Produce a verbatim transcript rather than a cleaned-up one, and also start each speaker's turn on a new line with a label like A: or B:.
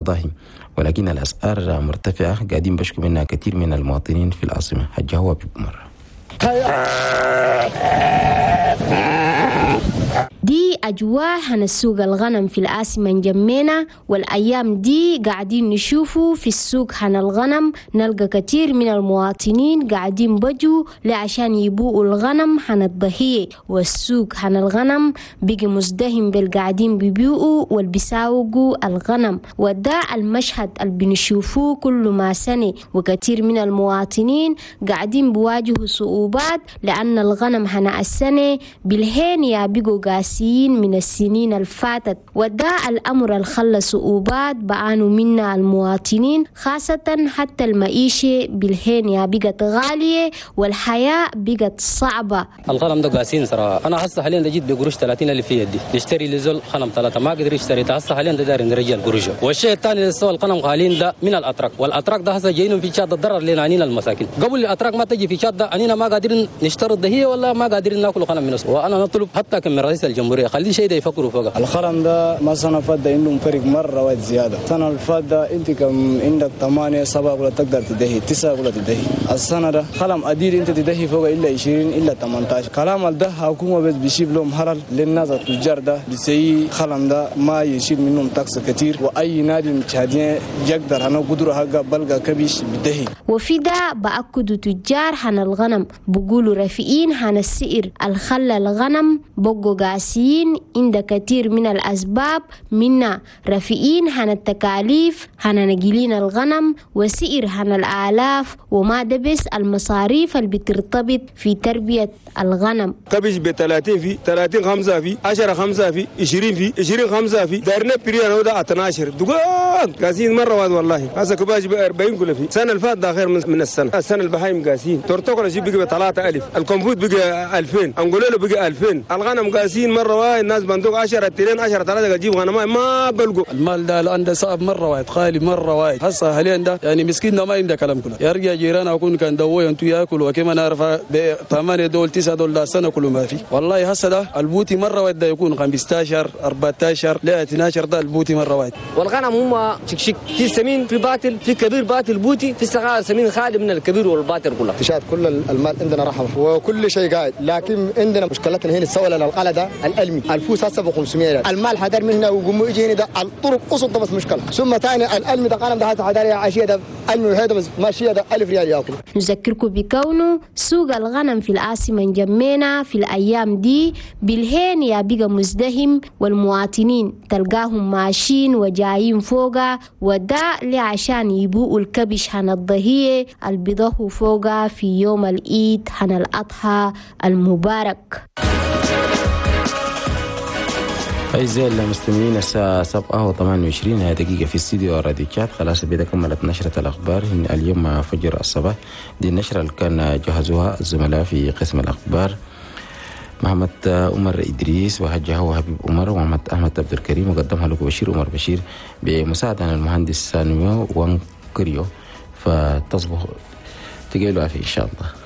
A: الأضاحي، ولكن الأسعار مرتفعة قاعدين بشكو منها كثير من المواطنين في العاصمة. حجة هو بمرة.
B: دي أجواء هن السوق الغنم في العاصمة نجمينا، والأيام دي قاعدين نشوفوا في السوق هن الغنم نلقى كثير من المواطنين قاعدين بجوا لعشان يبوءوا الغنم هن الضحية، والسوق هن الغنم بقي مزدهم بالقاعدين بيبيعوا والبيساوقوا الغنم، وده المشهد اللي بنشوفوه كل ما سنة، وكثير من المواطنين قاعدين بواجهوا صعوبات لأن الغنم هن السنة بالهين يا بقوا قاسيين من السنين الفاتت، وده الأمر اللي خلى صعوبات بعانوا منا المواطنين، خاصة حتى المعيشة بالهين يا بقت غالية والحياة بقت صعبة.
C: الغنم ده قاسين صراحة، أنا هسه حاليا ده جيت بقروش ثلاثين ألف في يدي نشتري لزول غنم ثلاثة ما قدر يشتري، هسه حاليا ده داير نرجع القروش. والشيء الثاني اللي سوى الغنم غاليين ده من الأتراك، والأتراك ده هسه جايين في شاد الضرر لنا عنينا المساكين، قبل الأتراك ما تجي في شاد ده عنينا ما قادرين نشتري الضحية ولا ما قادرين ناكل غنم من السوق. وأنا نطلب حتى كم من رئيس الجمهورية خلي شيء ده يفكروا فوقه.
D: الخرم ده مثلا فات ده عندهم فرق مرة واحد زيادة، السنة اللي فات ده أنت كم عندك ثمانية سبعة ولا تقدر تدهي تسعة ولا تدهي، السنة ده خلم أدير أنت تدهي فوق إلا عشرين إلا ثمانية عشر. كلام ده حكومة بس بيشيل لهم هرل للناس التجار ده بيسي خلم ده ما يشيل منهم تاكس كتير، وأي نادي متشادين يقدر أنا قدره حق بلغة كبيش بدهي.
B: وفي ده بأكدوا تجار حن الغنم بقولوا رفيقين حن السئر الخلى الغنم بقوا قاسيين عند كثير من الأسباب، منا رفيقين هن التكاليف هن نجيلين الغنم وسئر هن الآلاف وما دبس المصاريف اللي بترتبط في تربية الغنم.
E: كبش ب ثلاثين في ثلاثين خمسة في عشرة خمسة في عشرين في عشرين خمسة في دارنا بريان هذا اثنا عشر دقاق قاسين مرة واحد والله. هذا كباش ب أربعين كل في السنة اللي فاتت ده خير من السنة، السنة البهايم قاسين تورتوكل شيء بقى ثلاثة ألف، الكمبوت بقى ألفين، أنقولوا بقى ألفين، الغنم قاسين مرة واحد الناس بندوق عشرة اثنين عشرة ثلاثة تجيب غنم ما بلقوا.
F: المال ده الآن ده صعب مرة واحد خالي مرة واحد هسه حاليا ده يعني مسكين ده ما عنده كلام كله، يرجع جيران أكون كان دوي أنتو ياكل وكما نعرف ب ثمانية دول تسعة دول ده سنة كله ما في والله. هسه ده البوتي مرة واحد ده يكون خمسة عشر أربعة عشر لا اثنا عشر ده البوتي مرة واحد.
G: والغنم هم شكشك في سمين في باطل في كبير باطل بوتي في صغار سمين خالي من الكبير والباطل كله.
H: تشاهد كل المال عندنا رحمة وكل شيء قاعد، لكن عندنا مشكلتنا هنا السولة القلة ده الألمي الفوس هسه ب خمسمية ريال، المال حدر من هنا وقوم يجي هنا ده الطرق قصد بس مشكلة، ثم ثاني الألمي ده قلم ده حدر يا عشية ده ألمي وهذا بس ماشية ده ألف ريال ياكل.
B: نذكركم بكونه سوق الغنم في العاصمة نجمينا في الأيام دي بالهين يا بقى مزدهم، والمواطنين تلقاهم ماشيين وجايين فوقا، وده لعشان يبوءوا الكبش هن الضهية البيضه فوقا في يوم العيد هن الأضحى المبارك.
A: أعزائي المستمعين الساعة سبعة وثمانية وعشرين دقيقة في استديو راديو تشاد. خلاص بدا كملت نشرة الأخبار اليوم مع فجر الصباح. دي النشرة اللي كان جهزوها الزملاء في قسم الأخبار محمد عمر إدريس وهجه وحبيب عمر ومحمد أحمد عبد الكريم، وقدمها لكم بشير عمر بشير بمساعدة المهندس سانيو وانكريو. فتصبح تقيلوا عافية إن شاء الله.